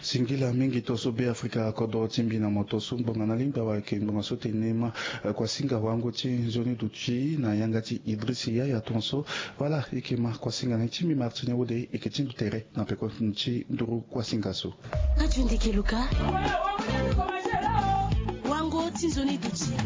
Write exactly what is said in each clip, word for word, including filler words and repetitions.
Singila mingi to so be afrika kodro ti mbi na moto so ngbonga na lingba wala yeke ngbonga so tene ma kuasinga wango ti nzoni duti na yanga ti idris yaya ton so. Wala yeke ma kuasinga na ye ti mbi martine wode yeke ti mbi tere na peko ti nduru kuasinga so. Kaju ndeke luka. Wango ti nzoni duti.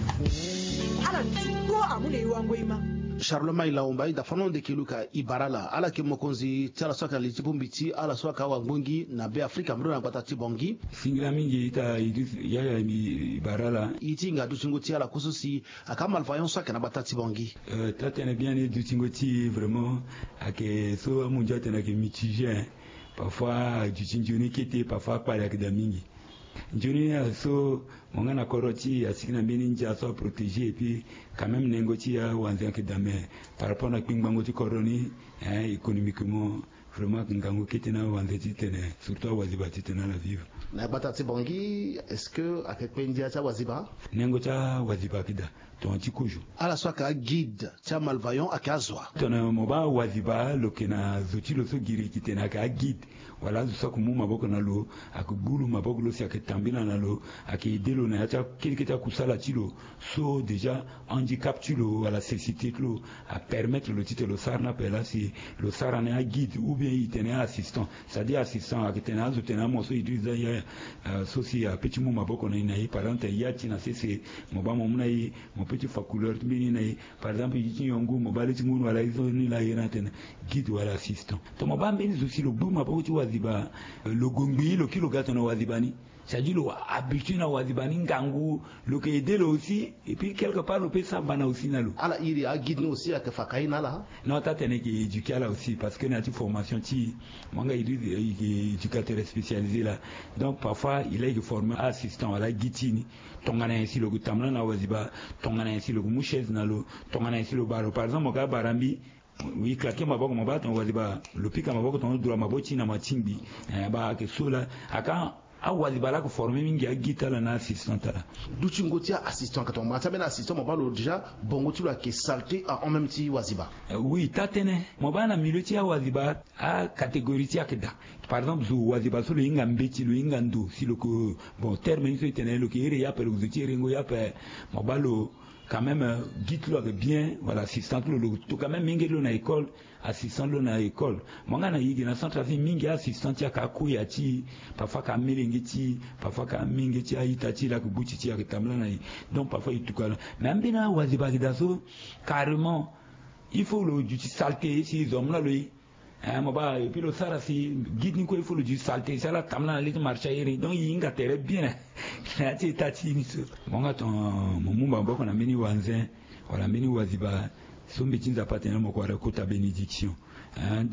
Ala ni ti kpo amu na e wango e ma. Charlemagne laomba e da fano ndeke luka e bara ala ala yeke mokonzi ti ala so ayeke na li ti bongbi ti ala so ayeke awangbongi na be afrika mbiro na gbata ti bongi. Singila mingi ita idris yaya e bara ala. E ti hinga dutingo ti ala koso si ayeke amalvaillant so ayeke na gbata ti bongi. Taa tene bien ni dutingo ti e vraiment ayeke so amundia atene ayeke mitigé. Parfois aduti nzoni kete parfois akpale ayeke daa mingi. Nzoni ni aye so mo nga na kodro ti e asigi na mbeni ndia so aprotégé et puis quand même nengo ti e awanze ayeke daa mais par rapport na kpingbango ti kodro ni, économiquement vraiment ayeke ngangu kete na awanze titene surtout awaziba titene ala vivre. Na gbata ti bongi est-ce que ayeke kpe ndia ti awaziba? Nengo ti awaziba ayeke daa. Tongana ti kozo ala so ayeke aguide ti amalvaillant ayeke azo wa? Tongana mo baa awaziba lo yeke na zo ti lo so giri yeke tene ayeke aguide wala azo so ayeke mu maboko na lo, ayeke gbu lo maboko lo si ayeke tambila na lo, ayeke aidé lo na ya ti akeleke ti akusala ti lo. So déjà handicap ti lo wala cécité ti lo apermettre lo titene lo sara ni ape laa si lo sara ni aguide ou bien e tene assistant. C'est à dire assistant ayeke tene azo tene amo so e diri za ya so si ape ti mu maboko na e na e par exemple tene ya ti na sese mo baa mo mu na e mo pe ti fa couleur ti mbeni na e. Par exemple ye ti nyon ngu mo baa le ti ngu ni wala ye so ni laa ye ni atene guide wala assistant. Tongana mo baa mbeni zo si lo gbu maboko ti waziba lo gongbi lo kiri lo ga tongana waziba ni. C'est à dire lo habitué na waziba ni ngangu lo yeke aidé lo aussi et puis quelque part lo pe sambana aussi na lo. Ala iri aguide ni aussi ayeke faka ye na ala. Non taa tene e yeke éduqué ala aussi parce que na ya ti formation ti e mo yanga éducateur spécialisé laa. Donc parfois e laa e yeke former assistant wala aguide ti e ni. Tongana nyen si lo yeke tambula na waziba? Tongana nyen si lo yeke mu chaise na lo? Tongana nyen si lo bara lo par exemple mo ga bara mbi e claqué maboko mo baa tongana waziba lo pika maboko tongana lo dura maboko ti e na matingbi. Baa ayeke so laa ayeke awaziba laa ayeke formé mingi aguide ti ala na assistant ti ala. Dutingo ti assistant ayeke tongana mo baa ti ambeni assistant mo baa lo déjà bongo ti lo ayeke saleté en même ti waziba. Oui taa tënë mo baa na milieu ti awaziba acatégorie ti e ayeke daa. Par exemple zo waziba so lo hinga mbeti lo hinga ndo si lo ke bon terme ni so e tene lo ke here ye ape lo ke zo ti herengo ye ape. Mo baa lo quand même guide ti lo ayeke bien wala assistant ti lo lo ke to quand même mingi ti lo na école. Assistant ti lo na école mo nga na e gi na centre afrique mingi assistant ti e ayeke akoya ti e. Parfois ayeke amelenge ti e parfois ayeke amenge ti e a-ita ti e laa ayeke gbuti ti e ayeke tambula na e. Donc parfois e tuka lo mais ambeni awaziba ayeke daa so carrément il faut lo duti saleté si zo amu na lo e. Mo baa et puis lo sara si guide ni kue il faut lo duti saleté si ala tambula na le ti marché airi donc e hinga tere bien na ya ti eta ti e ni so. Mo nga ton mo mu maboko na mbeni wanzen wala mbeni waziba so mbi ti nzapa atene mo ko wara kota bénédiction.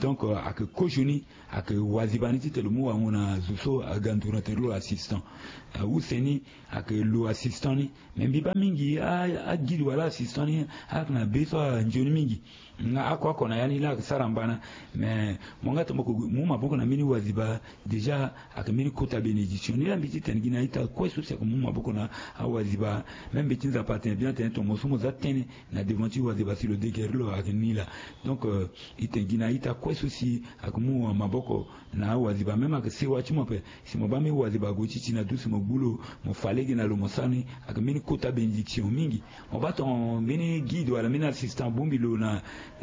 Donc ayeke kozoni ayeke waziba ni titene lo mu wango na zo so aga nduru na tere lo assistant. Use ni ayeke lo assistant ni. Mais mbi baa mingi aguide wala assistant ni ayeke na be so anzoni mingi. Nga ako ako na ya ni laa ayeke sara mbana. Mais mo nga tongana mo ko mu maboko na mbeni waziba déjà ayeke mbeni kota bénédiction ni laa mbi ti tene gi na a-ita kue so si ayeke mu maboko na awaziba. Même mbi ti nzapa atene bien atene tongana mo so mo za tënë na devant ti waziba si lo degere lo ayeke ni laa. Donc e tene gi na a-ita kue so si ayeke mu maboko na awaziba même ayeke sewa ti mo ape. Si mo baa mbeni waziba ague ti ti na dusu mo gbu lo mo fa lege na lo mo sara ni ayeke mbeni kota bénédiction mingi. Mo baa tongana mbeni guide wala mbeni assistant abongbi lo na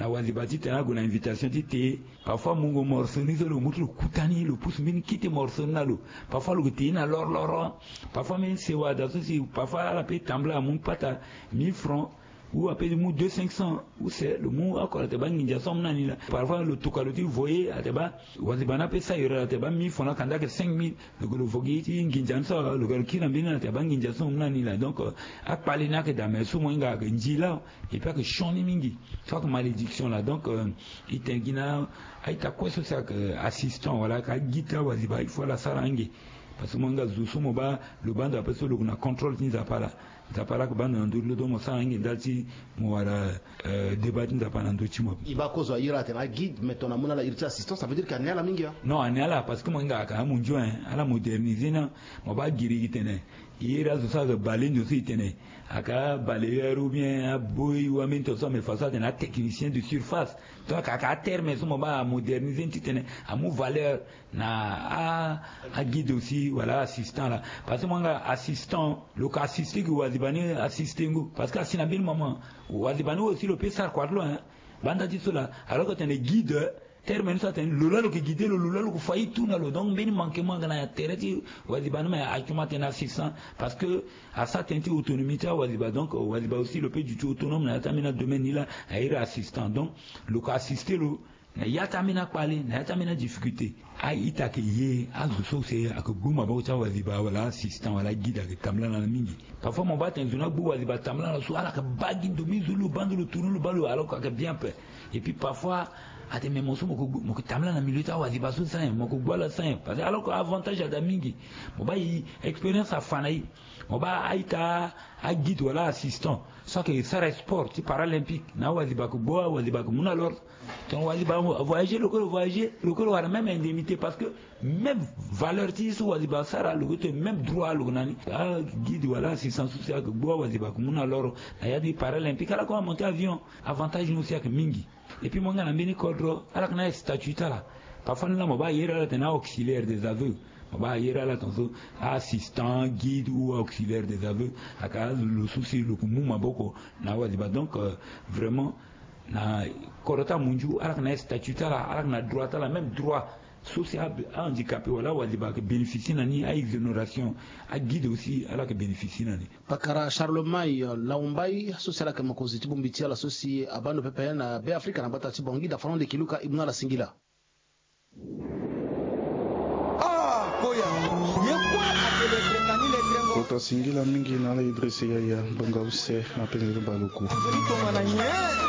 waziba titene ague na invitation ti te. Parfois mungo morceau ni so lo mu ti lo kuta ni lo pusu mbeni kete morceau ni na lo. Parfois lo ke te ye na lorloro. Parfois mbeni sewa daa so si parfois ala pe tambula amu pata mille francs ou ape ti mu deux cinq cents. Use lo mu oko ala te baa nginza so amu na ni laa. Parfois lo tuka lo ti voye ala te baa waziba ni ape sayori ala te baa mille francs na kanda ayeke cinq mille. Lo ke lo vo gi ti nginza ni so lo ke lo kiri na mbeni ala te baa nginza so amu na ni laa donc akpale ni ayeke daa mais so mo hinga ayeke nzi laa. Et puis ayeke sioni mingi so ayeke malédiction laa donc e tene gi na a-ita kue so si ayeke assistant wala ayeke aguide ti awaziba il faut ala sara ange. Parce que mo hinga zo so mo baa lo baa ndo ape so lo ke na contrôle ti nzapa laa. Nzapa ala yeke baa ndo na ndö ti lo, donc mo sara ange ndali ti mo wara, euh, débat ti Nzapa na ndö ti mo. E baa kozo ayeke iri atene aguide, mais tongana amu na ala iri ti assistance, ça veut dire que ane ala mingi, hein? Non, ane ala, parce que mo hinga ayeke amundio, hein, ala moderniser ni. Mo baa giri gi tene e iri azo so ayeke bale ndo so e tene ayeke abalayeur ou bien aboy ou ambeni to so, mais façon atene atechnicien de surface. Donc ayeke aterme so mo baa amoderniser ni titene amu valeur na a, aguide aussi, voilà, assistant laa. Parce que mo hinga assistant, lo yeke assisté gi waziba ni assisté ngu. Parce que asi na mbeni moment waziba ni aussi lo peut sara kua ti lo, hein. Banda ti so laa, alors que atene guide, terme ni so atene lo laa lo yeke guide lo, lo laa lo yeke fa ye tout na lo. Donc mbeni manquement ayeke na tere ti waziba ni, mais atuma atene assistant. Parce que asara tënë ti autonomie ti awaziba. Donc waziba aussi lo peut duti autonome na ya ti ambeni adomaine ni laa, a iri assistant. Donc lo yeke assisté lo na ya ti ambeni akpale, na ya ti ambeni adifficulté. A-ita ayeke ye azo so si ayeke gbu maboko ti awaziba wala assistant wala aguide ayeke tambula na ala mingi. Parfois mo baa atene zo ni agbu waziba tambula na ala so, ala yeke baa gi ndo mingi, zo lo baa ndo, lo tourner lo baa lo, alors que ayeke bien ape. Et puis parfois atene mais mo so mo yeke gbu, mo yeke tambula na milieu ti awaziba so sans ye, mo yeke gbu ala sans ye. Parce que alors que avantage ada mingi. Mo baa e expérience afa na e. Mo baa a-ita aguide wala assistant so ayeke sara sport ti paralympique, na awaziba ayeke gbu, awaziba ayeke mu na l'ordre. Donc waziba avoyager, lo kue lo voyager, lo kue lo wara même indemnité, parce que même valeur ti ye so waziba asara, lo kue tene même droit lo yeke na ni. Aguide wala assistant so si ayeke gbu, awaziba ayeke mu na l'ordre na ya ti paralympique, ala kue amonter avion. Avantage ni aussi ayeke mingi. Et puis mo hinga na mbeni kodro, ala yeke na astatut ti ala. Parfois ni laa mo baa a iri ala atene auxiliaire des aveux. Mo baa a iri ala tongaso assistant, guide ou auxiliaire des aveux. Ayeke azo lo so si lo yeke mu maboko na awaziba. Donc, euh, vraiment na kodro ti amundiu, ala yeke na astatut ti ala, ala yeke na droit ti ala, même droit so si a, ahandicapé wala awaziba ayeke bénéficier na ni, a-exonération. Aguide aussi ala yeke bénéficier na ni. Pakara Charlemagne Laumbai so si ala yeke mokonzi ti bongbi ti ala so si abaa ndo pepe na Beafrika na gbata ti Bangui, da Fernand Lekeluka, e mu na ala singila. Ah, koya. Ye kue atene tene ni le trengo. Kota singila mingi na ala Idrissa Yaya, mbanga use na penge ti baluku. Tongana nyen?